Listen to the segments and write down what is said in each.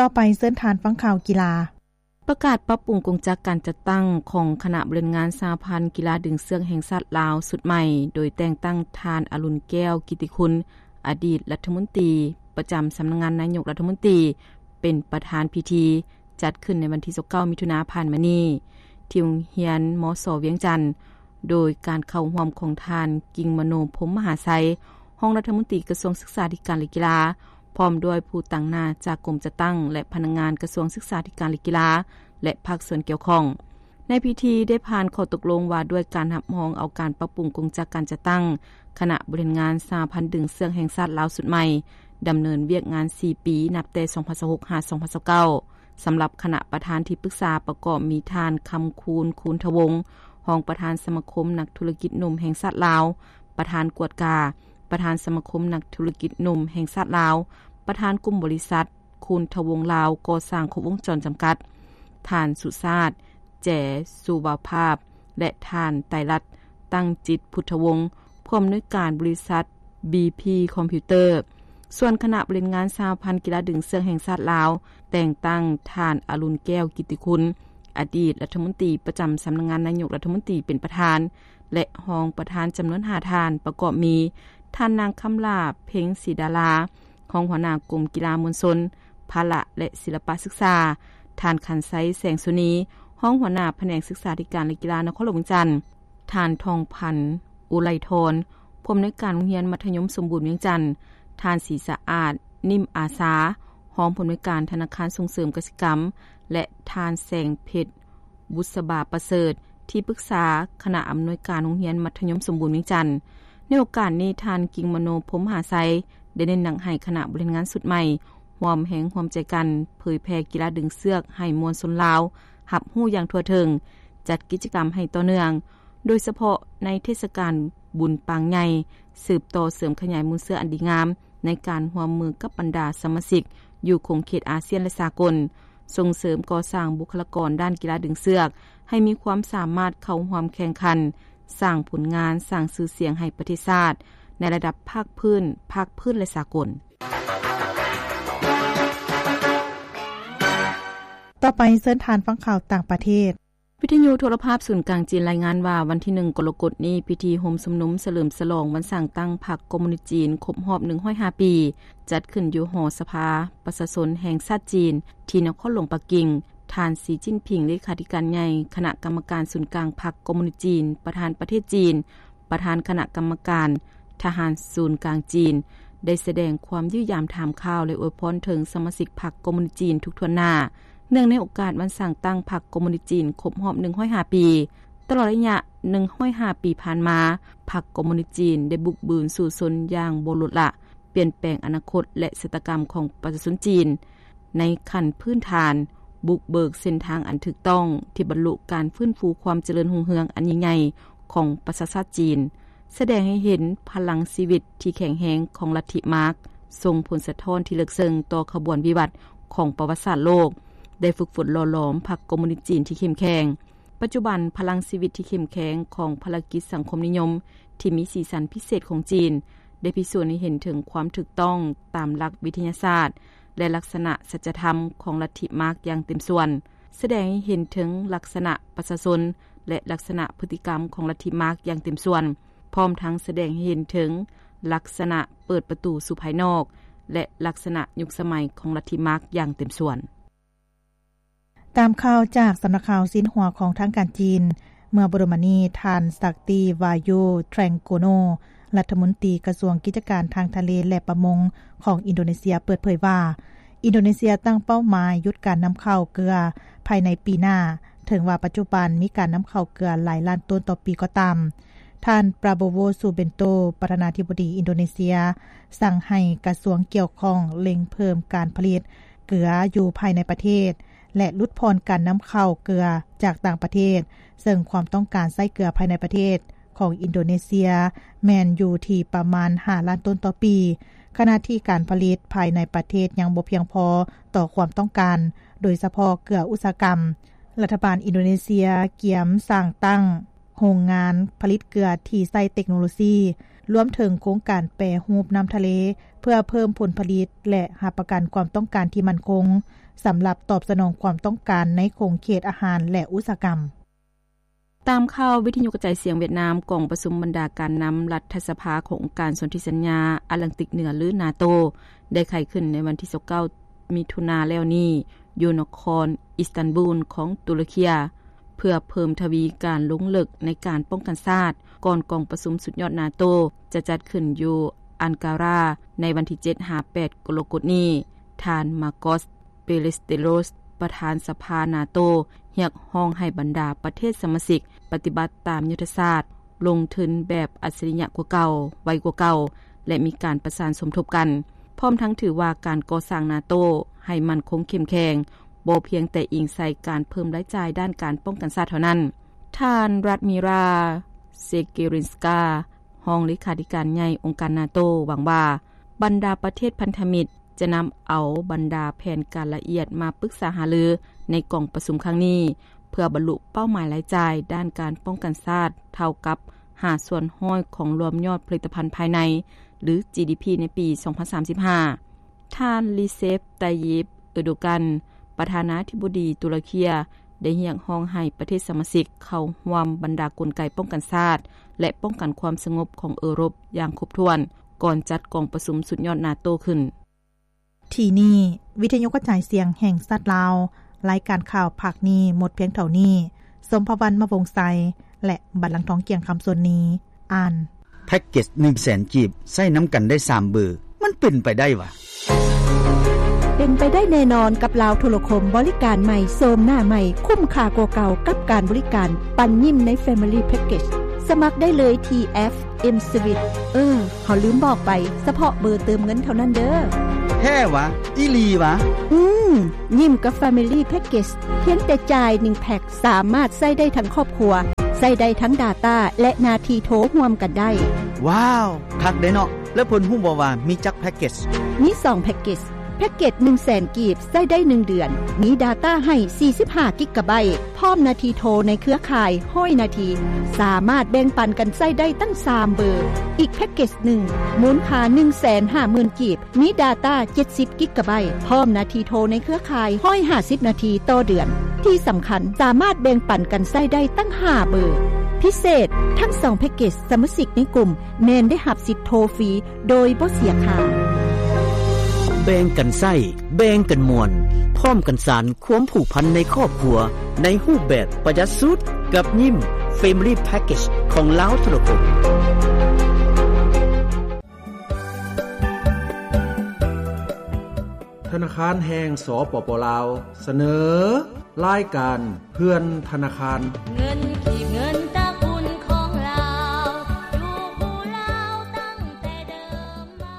ຕໍ່ໄປເຊີນທ່ານຟັງຂ່າວກິລາ. ປະກາດປັບປຸງກົງຈັກການຈັດຕັ້ງຂອງຄະນະບໍລິຫານງານສະຫະພັນກິລາດຶງເຊືອກແຫ່ງຊາດລາວຊຸດໃໝ່, ໂດຍແຕ່ງຕັ້ງທ່ານ ອະລຸນ ແກ້ວກິດຕິຄຸນ ອະດີດລັດຖະມົນຕີປະຈຳສຳນັກງານນາຍົກລັດຖະມົນຕີ ເປັນປະທານພິທີ, ຈັດຂຶ້ນໃນວັນທີຊາວເກົ້າ ມິຖຸນາຜ່ານມານີ້ ທີ່ໂຮງຮຽນ ມສ ວຽງຈັນ, ໂດຍການເຂົ້າຮ່ວມຂອງທ່ານ ກິ່ງມະໂນ ພົມມະຫາໄຊ ຮອງລັດຖະມົນຕີກະຊວງສຶກສາທິການ ແລະ ກິລາ, ພ້ອມດ້ວຍຜູ້ຕາງໜ້າຈາກກົມຈັດຕັ້ງ ແລະ ພະນັກງານກະຊວງສຶກສາທິການ ແລະ ກິລາ ແລະ ພາກສ່ວນກ່ຽວຂ້ອງ. ໃນພິທີໄດ້ຜ່ານຂໍ້ຕົກລົງວ່າດ້ວຍການຮັບຮອງເອົາການປັບປຸງກົງຈັກການຈັດຕັ້ງຄະນະບໍລິຫານງານສະຫະພັນດຶງເຊືອກແຫ່ງຊາດລາວຊຸດໃໝ່, ດຳເນີນວຽກງານສີ່ປີ ນັບແຕ່ສອງພັນຊາວຫົກ ຫາ ສອງພັນຊາວເກົ້າ. ສຳລັບຄະນະປະທານທີ່ປຶກສາປະກອບມີທ່ານ ຄຳຄູນ ຄູນທະວົງ ຮອງປະທານສະມາຄົມນັກທຸລະກິດໜຸ່ມແຫ່ງຊາດລາວ, ປະທານກວດກາ, ປະທານສະມາຄົມນັກທຸລະກິດໜຸ່ມແຫ່ງຊາດລາວ, ປະທານກຸ່ມບໍລິສັດຄູນທະວົງລາວກໍ່ສ້າງຄົບວົງຈອນຈຳກັດ, ທ່ານ ສຸຊາດ ແຈ ສຸວາພາບ ແລະ ທ່ານ ໄຕລັດ ຕັ້ງຈິດ ພຸດທະວົງ ຜູ້ອຳນວຍການບໍລິສັດ ບີພີ ຄອມພິວເຕີ. ສ່ວນຄະນະບໍລິຫານງານສະຫະພັນກິລາດຶງເຊືອກແຫ່ງຊາດລາວ ແຕ່ງຕັ້ງທ່ານ ອະລຸນ ແກ້ວກິດຕິຄຸນ ອະດີດລັດຖະມົນຕີປະຈຳສຳນັກງານນາຍົກລັດຖະມົນຕີເປັນປະທານ ແລະ ຮອງປະທານຈຳນວນຫ້າທ່ານ, ປະກອບມີ ທ່ານນາງ ຄຳຫຼ້າ ເພັງສີດາລາ ຮອງຫົວໜ້າກົມກິລາມວນຊົນ, ພະລະ ແລະ ສິລະປະສຶກສາ, ທ່ານ ຂັນໄຊ ແສງສຸນີ ຮອງຫົວໜ້າພະແນກສຶກສາທິການ ແລະ ກິລານະຄອນຫຼວງວຽງຈັນ, ທ່ານ ທອງພັນ ອຸໄລທອນ ຜູ້ອຳນວຍການໂຮງຮຽນມັດທະຍົມສົມບູນວຽງຈັນ, ທ່ານ ສີສະອາດ ນິ້ມອາສາ ຮອງຜູ້ອຳນວຍການທະນາຄານສົ່ງເສີມກະສິກຳ ແລະ ທ່ານ ແສງເພັດ ບຸດສະບາປະເສີດ ທີ່ປຶກສາຄະນະອຳນວຍການໂຮງຮຽນມັດທະຍົມສົມບູນວຽງຈັນ. ໃນໂອກາດນີ້, ທ່ານ ກິ່ງມະໂນ ພົມມະຫາໄຊ ໄດ້ເນັ້ນໜັກໃຫ້ຄະນະບໍລິຫານງານຊຸດໃໝ່ ຮ່ວມແຮງຮ່ວມໃຈກັນເຜີຍແຜ່ກິລາດຶງເຊືອກໃຫ້ມວນຊົນລາວຮັບຮູ້ຢ່າງທົ່ວເຖິງ, ຈັດກິດຈະກຳໃຫ້ຕໍ່ເນື່ອງ, ໂດຍສະເພາະໃນເທດສະການບຸນປາງໃຫຍ່, ສືບຕໍ່ເສີມຂະຫຍາຍມູນເຊື້ອອັນດີງາມໃນການຮ່ວມມືກັບບັນດາສະມາຊິກຢູ່ຂົງເຂດອາຊຽນ ແລະ ສາກົນ, ສົ່ງເສີມກໍ່ສ້າງບຸກຄະລາກອນດ້ານກິລາດຶງເຊືອກໃຫ້ມີຄວາມສາມາດເຂົ້າຮ່ວມແຂ່ງຂັນ, ສ້າງຜົນງານ, ສ້າງຊື່ສຽງໃຫ້ປະເທດຊາດໃນລະດັບພາກພື້ນ, ພາກພື້ນ ແລະ ສາກົນ. ຕໍ່ໄປເຊີນທ່ານຟັງຂ່າວຕ່າງປະເທດ. ວິທະຍຸໂທລະພາບສູນກາງຈີນລາຍງານວ່າ ວັນທີໜຶ່ງ ກໍລະກົດນີ້ ພິທີໂຮມຊຸມນຸມສະເຫຼີມສະຫຼອງວັນສ້າງຕັ້ງພັກຄອມມູນິດຈີນຄົບຮອບໜຶ່ງຮ້ອຍຫ້າປີ ຈັດຂຶ້ນຢູ່ຫໍສະພາປະຊາຊົນແຫ່ງຊາດຈີນ ທີ່ນະຄອນຫຼວງປັກກິ່ງ. ທ່ານ ສີ ຈິ້ນຜິງ ເລຂາທິການໃຫຍ່ຄະນະກຳມະການສູນກາງພັກຄອມມູນິດຈີນ, ປະທານປະເທດຈີນ, ປະທານຄະນະກຳມະການທະຫານສູນກາງຈີນ ໄດ້ສະແດງຄວາມຢ້ຽມຢາມຖາມຂ່າວ ແລະ ອວຍພອນເຖິງສະມາຊິກພັກຄອມມູນິດຈີນທຸກຖ້ວນໜ້າ ເນື່ອງໃນໂອກາດວັນສ້າງຕັ້ງພັກຄອມມູນິດຈີນຄົບຮອບໜຶ່ງຮ້ອຍຫ້າປີ. ຕະຫຼອດໄລຍະໜຶ່ງຮ້ອຍຫ້າປີຜ່ານມາ, ພັກຄອມມູນິດຈີນໄດ້ບຸກບືນສູ້ຊົນຢ່າງບໍ່ລົດລະ, ປ່ຽນແປງອະນາຄົດ ແລະ ຊະຕາກຳຂອງປະຊາຊົນຈີນໃນຂັ້ນພື້ນຖານ, ບຸກເບີກເສັ້ນທາງອັນຖືກຕ້ອງທີ່ບັນລຸການຟື້ນຟູຄວາມຈະເລີນຮຸ່ງເຮືອງອັນຍິ່ງໃຫຍ່ຂອງປະຊາຊາດຈີນ, ສະແດງໃຫ້ເຫັນພະລັງຊີວິດທີ່ແຂງແຮງຂອງລັດທິມາກ, ສົ່ງຜົນສະທ້ອນທີ່ເລິກເຊິ່ງຕໍ່ຂະບວນວິວັດຂອງປະຫວັດສາດໂລກ, ໄດ້ຝຶກຝົນຫຼໍ່ຫຼອມພັກຄອມມູນິດຈີນທີ່ເຂັ້ມແຂງ. ປັດຈຸບັນ, ພະລັງຊີວິດທີ່ເຂັ້ມແຂງຂອງພາລະກິດສັງຄົມນິຍົມທີ່ມີສີສັນພິເສດຂອງຈີນ ໄດ້ພິສູດໃຫ້ເຫັນເຖິງຄວາມຖືກຕ້ອງຕາມຫຼັກວິທະຍາສາດ ແລະ ລັກສະນະສັດຈະທຳຂອງລັດທິມາກຢ່າງເຕັມສ່ວນ, ສະແດງໃຫ້ເຫັນເຖິງລັກສະນະປະຊາຊົນ ແລະ ລັກສະນະພຶດຕິກຳຂອງລັດທິມາກຢ່າງເຕັມສ່ວນ, ພ້ອມທັງສະແດງໃຫ້ເຫັນເຖິງລັກສະນະເປີດປະຕູສູ່ພາຍນອກ ແລະ ລັກສະນະຍຸກສະໄໝຂອງລັດທິມາກຢ່າງເຕັມສ່ວນ. ຕາມຂ່າວຈາກສຳນັກຂ່າວຊິນຫົວຂອງທາງການຈີນ, ເມື່ອບໍ່ດົນມານີ້, ທ່ານ ສັກຕິວາຍຸ ແທຣງໂກໂນ ລັດຖະມົນຕີກະຊວງກິດຈະການທາງທະເລ ແລະ ປະມົງຂອງອິນໂດເນເຊຍ ເປີດເຜີຍວ່າ ອິນໂດເນເຊຍຕັ້ງເປົ້າໝາຍຢຸດການນຳເຂົ້າເກືອພາຍໃນປີໜ້າ, ເຖິງວ່າປັດຈຸບັນມີການນຳເຂົ້າເກືອຫຼາຍລ້ານໂຕນຕໍ່ປີກໍຕາມ. ທ່ານ ປາໂບໂວ ຊູເບັນໂຕ ປະທານາທິບໍດີອິນໂດເນເຊຍ ສັ່ງໃຫ້ກະຊວງກ່ຽວຂ້ອງເລັ່ງເພີ່ມການຜະລິດເກືອຢູ່ພາຍໃນປະເທດ ແລະ ຫຼຸດຜ່ອນການນຳເຂົ້າເກືອຈາກຕ່າງປະເທດ, ເຊິ່ງຄວາມຕ້ອງການໃຊ້ເກືອພາຍໃນປະເທດຂອງອິນໂດເນເຊຍແມ່ນຢູ່ທີ່ປະມານຫ້າລ້ານໂຕນຕໍ່ປີ, ຂະນະທີ່ການຜະລິດພາຍໃນປະເທດຍັງບໍ່ພຽງພໍຕໍ່ຄວາມຕ້ອງການ, ໂດຍສະເພາະເກືອອຸດສາຫະກຳ. ລັດຖະບານອິນໂດເນເຊຍກຽມສ້າງຕັ້ງ ໂຮງງານຜະລິດເກືອທີ່ໃຊ້ເຕັກໂນໂລຊີ ລວມເຖິງໂຄງການແປຮູບນ້ຳທະເລ ເພື່ອເພີ່ມຜົນຜະລິດ ແລະ ຮັບປະກັນຄວາມຕ້ອງການທີ່ໝັ້ນຄົງ ສຳລັບຕອບສະໜອງຄວາມຕ້ອງການໃນຂົງເຂດອາຫານ ແລະ ອຸດສາຫະກຳ. ຕາມຂ່າວວິທະຍຸກະຈາຍສຽງຫວຽດນາມ, ກອງປະຊຸມບັນດາການນຳລັດຖະສະພາຂອງອົງການສົນທິສັນຍາອາດລັງຕິກເໜືອ ຫຼື ນາໂຕ ໄດ້ໄຂຂຶ້ນໃນວັນທີຊາວເກົ້າ ມິຖຸນາແລ້ວນີ້ ຢູ່ນະຄອນອິສຕັນບູນຂອງຕຸລະເຄຍ ເພື່ອເພີ່ມທະວີການລົງເລິກໃນການປ້ອງກັນຊາດ ກ່ອນກອງປະຊຸມສຸດຍອດນາໂຕ ຈະຈັດຂຶ້ນຢູ່ອັງກາຣາ ໃນວັນທີເຈັດຫາແປດ ກໍລະກົດນີ້. ທ່ານ ມາກອສ ເປເລສເຕໂຣສ ປະທານສະພານາໂຕ ຮຽກຮ້ອງໃຫ້ບັນດາປະເທດສະມາຊິກປະຕິບັດຕາມຍຸດທະສາດ ລົງທຶນແບບອັດສະລິຍະກວ່າເກົ່າ, ໄວກວ່າເກົ່າ ແລະ ມີການປະສານສົມທົບກັນ, ພ້ອມທັງຖືວ່າການກໍ່ສ້າງນາໂຕໃຫ້ໝັ້ນຄົງເຂັ້ມແຂງ ບໍ່ພຽງແຕ່ອີງໃສ່ການເພີ່ມລາຍຈ່າຍດ້ານການປ້ອງກັນຊາດເທົ່ານັ້ນ. ທ່ານ ຣັດມີຣາ ເຊເກຣິນສກາ ຮອງເລຂາທິການໃຫຍ່ອົງການນາໂຕ ຫວັງວ່າບັນດາປະເທດພັນທະມິດຈະນຳເອົາບັນດາແຜນການລະອຽດມາປຶກສາຫາລືໃນກອງປະຊຸມຄັ້ງນີ້ ເພື່ອບັນລຸເປົ້າໝາຍລາຍຈ່າຍດ້ານການປ້ອງກັນຊາດເທົ່າກັບຫ້າສ່ວນຮ້ອຍຂອງລວມຍອດຜະລິດຕະພັນພາຍໃນ ຫຼື ຈີດີພີ ໃນປີສອງພັນສາມສິບຫ້າ. ທ່ານ ຣີເຊບ ໄຕຢິບ ເອີໂດກັນ ປະທານາທິບໍດີຕຸລະເຄຍ ໄດ້ຮຽກຮ້ອງໃຫ້ປະເທດສະມາຊິກເຂົ້າຮ່ວມບັນດາກົນໄກປ້ອງກັນຊາດ ແລະ ປ້ອງກັນຄວາມສະຫງົບຂອງເອີຣົບຢ່າງຄົບຖ້ວນ ກ່ອນຈັດກອງປະຊຸມສຸດຍອດນາໂຕຂຶ້ນ. ທີ່ນີ້ ວິທະຍຸກະຈາຍສຽງແຫ່ງຊາດລາວ, ລາຍການຂ່າວພາກນີ້ໝົດພຽງເທົ່ານີ້. ສົມພະວັນ ມະວົງໄຊ ແລະ ບັນລັງທອງ ກຽງຄຳ ສ່ວນນີ້ ອ່ານ. ແພັກເກັດໜຶ່ງແສນກີບ ໃຊ້ນຳກັນໄດ້ສາມເບີ ມັນເປັນໄປໄດ້ຫວາ? ເປັນໄປໄດ້ແນ່ນອນກັບລາວໂທລະຄົມ ບໍລິການໃໝ່ ໂສມໜ້າໃໝ່ ຄຸ້ມຄ່າກວ່າເກົ່າກັບການບໍລິການ ປັນຍິ້ມໃນ Family Package. ສະໝັກໄດ້ເລີຍທີ່ແອັບ M Switch. ເອີ ເຮົາລືມບອກໄປ, ສະເພາະເບີເຕີມເງິນເທົ່ານັ້ນເດີ້. ແທ້ຫວາ? ອີ່ຫຼີຫວາ? ອືມ, ຍິ້ມກັບ Family Package ພຽງແຕ່ຈ່າຍໜຶ່ງແພັກ ສາມາດໃຊ້ໄດ້ທັງຄອບຄົວ, ໃຊ້ໄດ້ທັງ data ແລະ ໜ້າທີ່ໂທຮ່ວມກັນໄດ້. ວ້າວ, ຄັກເດ້ເນາະ. ແລ້ວເພິ່ນຮູ້ບໍ່ວ່າມີຈັກແພັກເກັດ? ມີສອງແພັກເກັດ. ແພັກເກັດໜຶ່ງແສນກີບ ໃຊ້ໄດ້ໜຶ່ງເດືອນ, ມີ data ໃຫ້ສີ່ສິບຫ້າກິກກະໄບ, ພ້ອມໜ້າທີ່ໂທໃນເຄືອຂ່າຍຮ້ອຍນາທີ, ສາມາດແບ່ງປັນກັນໃຊ້ໄດ້ຕັ້ງສາມເບີ. ອີກແພັກເກັດໜຶ່ງ ມູນຄ່າໜຶ່ງແສນຫ້າໝື່ນກີບ, ມີ data ເຈັດສິບກິກກະໄບ, ພ້ອມໜ້າທີ່ໂທໃນເຄືອຂ່າຍຮ້ອຍຫ້າສິບນາທີຕໍ່ເດືອນ. ທີ່ສຳຄັນ, ສາມາດແບ່ງປັນກັນໃຊ້ໄດ້ຕັ້ງຫ້າເບີ. ພິເສດ, ທັງສອງແພັກເກັດ ສະມາຊິກໃນກຸ່ມແມ່ນໄດ້ຮັບສິດໂທຟຣີໂດຍບໍ່ເສຍຄ່າ. ແບ່ງກັນໃຊ້, ແບ່ງກັນມ່ວນ, ພ້ອມກັນສານຄວາມຜູກພັນໃນຄອບຄົວ ໃນຮູບແບບປະຢັດສຸດ ກັບຍິ້ມ Family Package ຂອງລາວໂທລະຄົມ. ທະນາຄານແຫ່ງ ສປປ ລາວ ສະເໜີ ລາຍການເພື່ອນທະນາຄານ. ເງິນກີບ ເງິນຕະກຸນຂອງລາວ ຢູ່ຄູ່ລາວຕັ້ງແຕ່ເດີມມາ.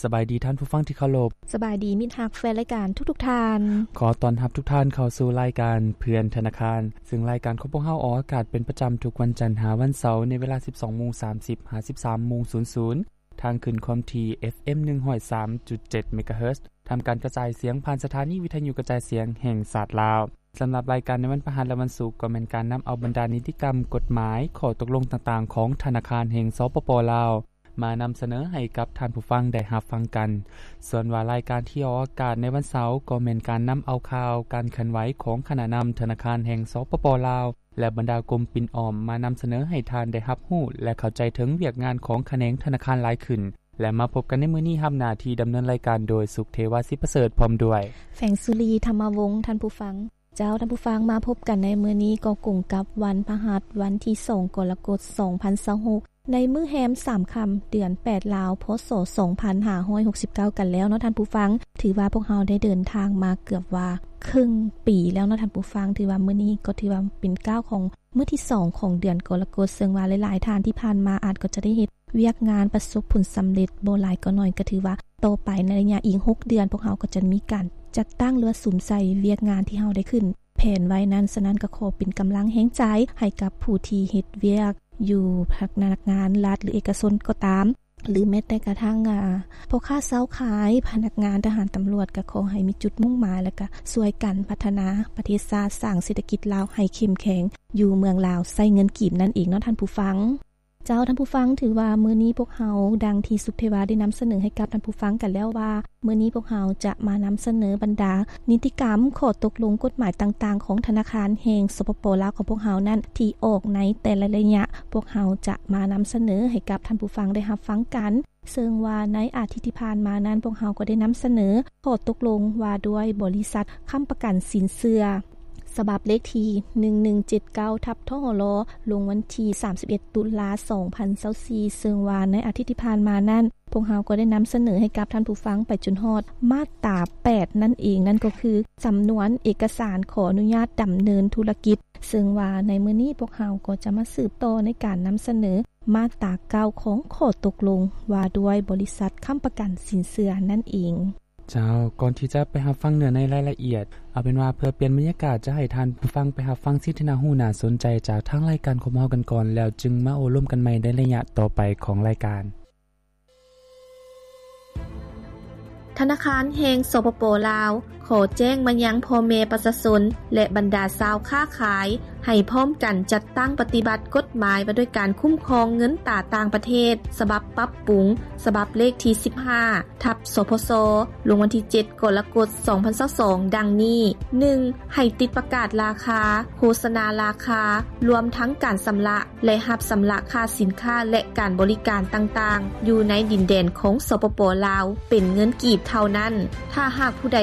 ສະບາຍດີທ່ານຜູ້ຟັງທີ່ເຄົາລົບ. ສະບາຍດີມິດຮັກແຟນລາຍການທຸກໆທ່ານ. ຂໍຕ້ອນຮັບທຸກທ່ານເຂົ້າສູ່ລາຍການເພື່ອນທະນາຄານ, ເຊິ່ງລາຍການຂອງພວກເຮົາອອກອາກາດເປັນປະຈຳທຸກວັນຈັນຫາວັນເສົາ ໃນເວລາສິບສອງໂມງສາມສິບ ຫາ ສິບສາມໂມງສູນສູນ ທາງຄື້ນຄວາມຖີ່ ເອັຟເອັມ ໜຶ່ງຮ້ອຍສາມຈຸດເຈັດ ເມກາເຮີດ, ທຳການກະຈາຍສຽງຜ່ານສະຖານີວິທະຍຸກະຈາຍສຽງແຫ່ງຊາດລາວ. ສຳລັບລາຍການໃນວັນພະຫັດ ແລະ ວັນສຸກ ກໍແມ່ນການນຳເອົາບັນດານິຕິກຳ, ກົດໝາຍ, ຂໍ້ຕົກລົງຕ່າງໆຂອງທະນາຄານແຫ່ງ ສປປ ລາວ ມານຳສະເໜີໃຫ້ກັບທ່ານຜູ້ຟັງໄດ້ຮັບຟັງກັນ. ສ່ວນວ່າລາຍການທີ່ອອກອາກາດໃນວັນເສົາ ກໍແມ່ນການນຳເອົາຂ່າວການເຄື່ອນໄຫວຂອງຄະນະນຳທະນາຄານແຫ່ງ ສປປ ລາວ ແລະ ບັນດາກົມປິ່ນອ້ອມ ມານຳສະເໜີໃຫ້ທ່ານໄດ້ຮັບຮູ້ ແລະ ເຂົ້າໃຈເຖິງວຽກງານຂອງຂະແໜງທະນາຄານຫຼາຍຂຶ້ນ. ແລະ ມາພົບກັນໃນມື້ນີ້ ຮັບໜ້າທີ່ດຳເນີນລາຍການໂດຍ ສຸກເທວາ ສິປະເສີດ ພ້ອມດ້ວຍ ແສງສຸລີ ທຳມະວົງ. ທ່ານຜູ້ຟັງ, ເຈົ້າ, ທ່ານຜູ້ຟັງ, ມາພົບກັນໃນມື້ນີ້ກໍກົງກັບວັນພະຫັດ ວັນທີສອງ ກໍລະກົດ ສອງພັນຊາວຫົກ ໃນມື້ແຮມສາມຄ່ຳ ເດືອນແປດລາວ ພ.ສ. ສອງພັນຫ້າຮ້ອຍຫົກສິບເກົ້າກັນແລ້ວເນາະທ່ານຜູ້ຟັງ. ຖືວ່າພວກເຮົາໄດ້ເດີນທາງມາເກືອບວ່າເຄິ່ງປີແລ້ວເນາະທ່ານຜູ້ຟັງ. ຖືວ່າມື້ນີ້ກໍຖືວ່າເປັນກ້າວຂອງມື້ທີສອງຂອງເດືອນກໍລະກົດ, ເຊິ່ງວ່າຫຼາຍໆທ່ານທີ່ຜ່ານມາອາດກໍຈະໄດ້ເຮັດວຽກງານປະສົບຜົນສຳເລັດ ບໍ່ຫຼາຍກໍໜ້ອຍ, ກໍຖືວ່າຕໍ່ໄປໃນໄລຍະອີກຫົກເດືອນ ພວກເຮົາກໍຈະມີການຈັດຕັ້ງ ຫຼືວ່າສຸມໃສ່ວຽກງານທີ່ເຮົາໄດ້ຂຶ້ນ ແຜນໄວ້ນັ້ນ. ສະນັ້ນກໍຂໍເປັນກຳລັງແຮງໃຈໃຫ້ກັບຜູ້ທີ່ເຮັດວຽກຢູ່ພະນັກງານລັດ ຫຼື ເອກະຊົນກໍຕາມ, ຫຼື ແມ້ແຕ່ກະທັ່ງ ອາ ພໍ່ຄ້າຊາວຂາຍ, ພະນັກງານ, ທະຫານ, ຕຳຫຼວດ, ກໍຂໍໃຫ້ມີຈຸດມຸ່ງໝາຍ ແລະ ກະຊ່ວຍກັນພັດທະນາປະເທດຊາດ, ສ້າງເສດຖະກິດລາວໃຫ້ເຂັ້ມແຂງ ຢູ່ເມືອງລາວໃຊ້ເງິນກີບນັ້ນເອງເນາະທ່ານຜູ້ຟັງ. ເຈົ້າ ທ່ານຜູ້ຟັງ, ຖືວ່າມື້ນີ້ພວກເຮົາ ດັ່ງທີ່ສຸເພວາໄດ້ນຳສະເໜີໃຫ້ກັບທ່ານຜູ້ຟັງກັນແລ້ວວ່າ ມື້ນີ້ພວກເຮົາຈະມານຳສະເໜີບັນດານິຕິກຳ ຂໍ້ຕົກລົງກົດໝາຍຕ່າງໆ ຂອງທະນາຄານແຫ່ງ ສປປ ລາວ ຂອງພວກເຮົານັ້ນ ທີ່ອອກໃນແຕ່ລະໄລຍະ ພວກເຮົາຈະມານຳສະເໜີໃຫ້ກັບທ່ານຜູ້ຟັງໄດ້ຮັບຟັງກັນ. ເຊິ່ງວ່າໃນອາທິດທີ່ຜ່ານມານັ້ນ ພວກເຮົາກໍໄດ້ນຳສະເໜີຂໍ້ຕົກລົງວ່າດ້ວຍບໍລິສັດຄ້ຳປະກັນສິນເຊື່ອ ສະບັບເລກທີ ໜຶ່ງໜຶ່ງເຈັດເກົ້າ ທັບ ທຫລ ລົງວັນທີ ສາມສິບເອັດ ຕຸລາ ສອງພັນຊາວສີ່ ເຊິ່ງວ່າໃນອາທິດທີ່ຜ່ານມານັ້ນ ພວກເຮົາກໍໄດ້ນຳສະເໜີໃຫ້ກັບທ່ານຜູ້ຟັງໄປຈົນຮອດມາດຕາ ແປດ ນັ້ນເອງ, ນັ້ນກໍຄື ສຳນວນເອກະສານຂໍອະນຸຍາດດຳເນີນທຸລະກິດ, ເຊິ່ງວ່າໃນມື້ນີ້ພວກເຮົາກໍຈະມາສືບຕໍ່ໃນການນຳສະເໜີມາດຕາ ເກົ້າ ຂອງຂໍ້ຕົກລົງວ່າດ້ວຍບໍລິສັດຄ້ຳປະກັນສິນເຊື່ອນັ້ນເອງ. ເຈົ້າ, ກ່ອນທີ່ຈະໄປຮັບຟັງເນື້ອໃນລາຍລະອຽດ, ເອົາເປັນວ່າເພື່ອປ່ຽນບັນຍາກາດ ຈະໃຫ້ທ່ານຜູ້ຟັງໄປຮັບຟັງສິ່ງທີ່ໜ້າຮູ້ໜ້າສົນໃຈຈາກທາງລາຍການຂອງເຮົາກັນກ່ອນ, ແລ້ວຈຶ່ງມາໂອ້ລົມກັນໃໝ່ໃນໄລຍະຕໍ່ໄປຂອງລາຍການ. ທະນາຄານແຫ່ງ ສປປ ລາວ ຂໍແຈ້ງມາຍັງພໍ່ແມ່ປະຊາຊົນ ແລະ ບັນດາຊາວຄ້າຂາຍ ໃຫ້ພ້ອມກັນຈັດຕັ້ງປະຕິບັດກົດໝາຍວ່າດ້ວຍການຄຸ້ມຄອງເງິນຕາຕ່າງປະເທດ ສະບັບປັບປຸງ ສະບັບເລກທີ ສິບຫ້າ ທັບ ສພຊ ລົງວັນທີ ເຈັດ ກໍລະກົດ ສອງພັນຊາວສອງ ດັ່ງນີ້: ໜຶ່ງ ໃຫ້ຕິດປະກາດລາຄາ, ໂຄສະນາລາຄາ, ລວມທັງການຊຳລະ ແລະ ຮັບຊຳລະຄ່າສິນຄ້າ ແລະ ການບໍລິການຕ່າງໆ ຢູ່ໃນດິນແດນຂອງ ສປປ ລາວ ເປັນເງິນກີບເທົ່ານັ້ນ. ຖ້າຫາກຜູ້ໃດ